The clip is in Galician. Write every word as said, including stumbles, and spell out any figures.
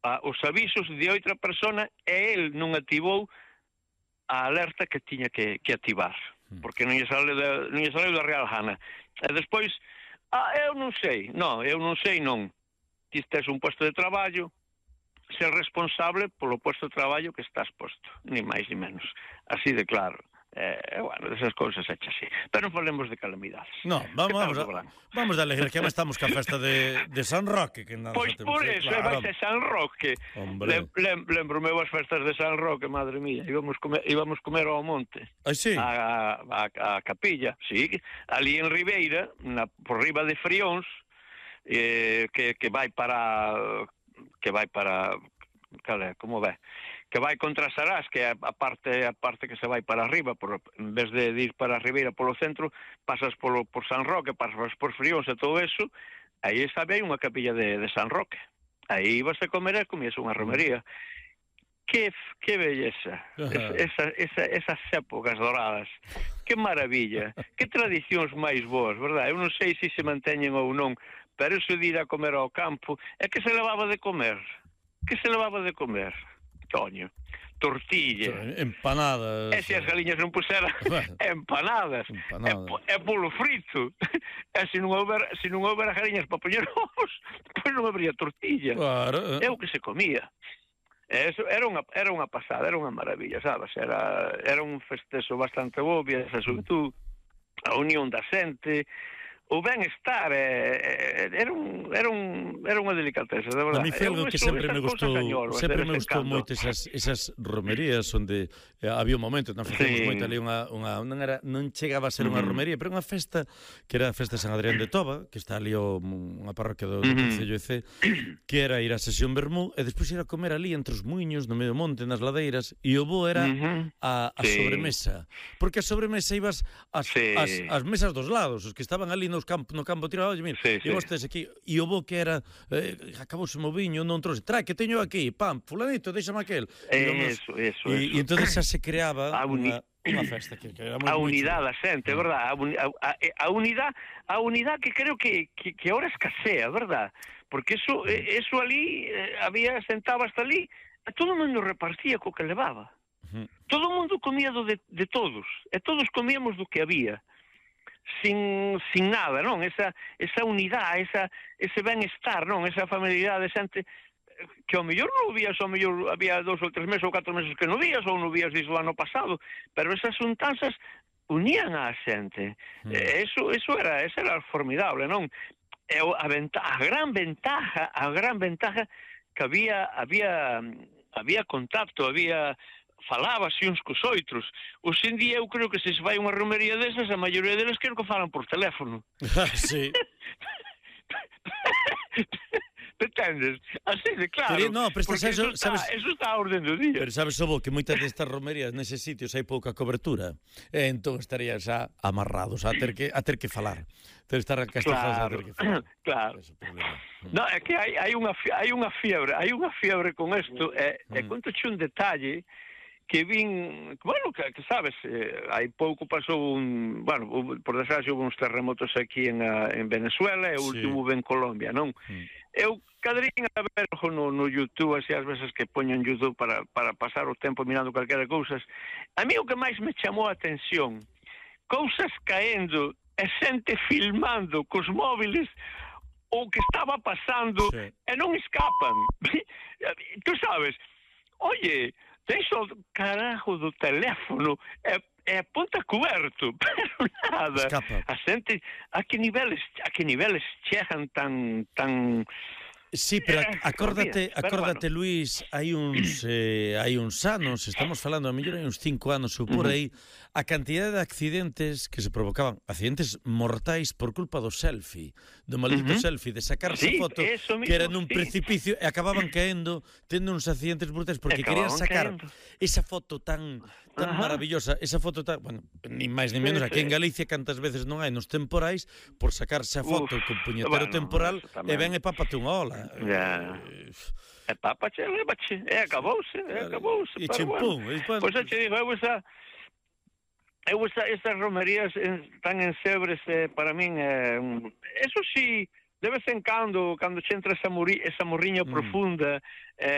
a, os avisos de outra persona e el non activou a alerta que tiña que, que activar, porque non lle sale da, non lle sale da real gana. E despois, ah, eu non sei, non, eu non sei non. Ti tes un posto de traballo, ser responsable polo posto de traballo que estás posto, ni máis ni menos. Así de claro. Eh, bueno, esas cousas hechas así. Pero non falemos de calamidades. No, vamos, vamos, a, vamos de alegría, que estamos ca festa de, de San Roque. Que nada, pois por eh, eso, claro. vai ser San Roque. Lem, lem, lembro-me as festas de San Roque, madre mía. Íbamos comer, íbamos comer ao monte. Ah, sí? A, a, a capilla, sí. Ali en Ribeira, na, por riba de Frións, eh, que, que vai para... que vai para... Cale, como ve? Que vai contra Sarás, que é a parte a parte que se vai para arriba, por, en vez de ir para a Ribeira polo centro, pasas polo, por San Roque, pasas por Frións e todo eso, aí sabe hai unha capilla de, de San Roque. Aí vas a comer e comías unha romería. Que, que belleza, esa, esa, esas épocas doradas, que maravilla, que tradicións máis boas, verdad? Eu non sei se se manteñen ou non, pero eso de ir a comer ao campo, é que se levaba de comer, que se levaba de comer. Coño, tortilla, empanadas. E se as galiñas non puseran empanadas, empanadas. E, e polo frito. E se non houber, se non houber as galiñas para poñer ovos, pois non habría tortilla. Claro. É o que se comía. E eso era unha era unha pasada, era unha maravilla, sabes? Era era un festezo bastante bo, esa xuventud, a unión da xente, o ben-estar, eh, era un era un era unha delicateza, de verdade. A mí foi algo que sempre me gustou, sempre me gustou moito esas esas romerías onde eh, había un momento, nós facíamos sí. moito ali unha unha non era non chegaba a ser unha romería, pero unha festa que era a festa de San Adrián de Toba, que está ali o, unha parroquia do, do Concello de Cee, que era ir á sesión vermú e despois ir a comer ali entre os muiños no medio do monte, nas ladeiras, e o bo era a, a sí. sobremesa, porque a sobremesa ibas as, sí. as, as mesas dos lados, os que estaban ali nos campo, no campo tirado, oye, mira, sí, e vos tes aquí, e o bo que era, eh, acabouse o viño, non trouxe, trae, que teño aquí, pam, fulanito, deixame aquel. Eso, eso, e, e entonces xa se creaba unha, unha festa que, que era moi, a unidade da xente, ah. verdad? A, a, a unidade, a unidade que creo que, que, que ahora escasea, verdad? Porque eso, eso ali, eh, había sentado hasta ali, e todo o mundo repartía co que levaba. Uh -huh. Todo o mundo comía do de, de todos, e todos comíamos do que había. Sin, sin nada, non? Esa, esa unidade, esa, ese ben-estar, non? Esa familiaridade de xente que ao mellor non vías, ao mellor había dous ou tres meses ou catro meses que non vías, ou non vías desde o ano pasado, pero esas untanzas unían a xente. Mm. E eso, eso era, eso era formidable, non? E a, venta, a gran ventaja, a gran ventaja que había, había, había contacto, había... falábase uns cos outros. Hoxe en día eu creo que se se vai unha romería desas, a maioría deles creo que falan por teléfono. Sí. Entendes? Así de claro. Pero, no, pero porque eso, eso, está, sabes, eso está a orden do día. Pero sabes, Sobo, que moitas destas romerías neses sitios hai pouca cobertura. E entón estarías xa amarrados a ter que a ter que falar. Ter estar castizados claro, a ter que falar. Claro. No, é que hai hai unha hai unha fiebre, hai unha fiebre con isto, e mm. e contoche un detalle que vin, bueno, que, que sabes, eh, hai pouco pasou un, bueno, por desgracia houve uns terremotos aquí en, a, en Venezuela e o sí. último en Colombia, non? Mm. Eu cadrín a ver no, no YouTube, así as veces que poño en YouTube para, para pasar o tempo mirando calquera cousas. A mí o que máis me chamou a atención, cousas caendo e xente filmando cos móviles o que estaba pasando sí. e non escapan. Tú sabes, oye, tens o carajo do teléfono e, e ponta coberto, pero nada. Escapa. A xente, a que niveles, a que niveles chegan tan tan Sí, pero acórdate, acórdate, bueno. Luís, hai uns eh, hai uns anos, estamos falando a mellor hai uns cinco anos ou por aí, a cantidade de accidentes que se provocaban, accidentes mortais por culpa do selfie, do maldito uh -huh. selfie, de sacarse sí, foto mismo, que era nun sí. precipicio e acababan caendo, tendo uns accidentes brutais porque querían sacar caendo. esa foto tan tan Ajá. maravillosa, esa foto tan, bueno, ni máis ni menos, sí, aquí sí. en Galicia cantas veces non hai nos temporais por sacarse a foto Uf, con puñetero bueno, temporal e ven e pápate unha ola. Ya. E pápache, levache, e acabouse, e acabouse. E chimpún. Bueno. Pois xa te digo, eu esa eu esa, esas romerías tan ensebres eh, para min, eh, eso sí, de vez en cando, cando che entra esa, muri, esa morriña mm. profunda, eh,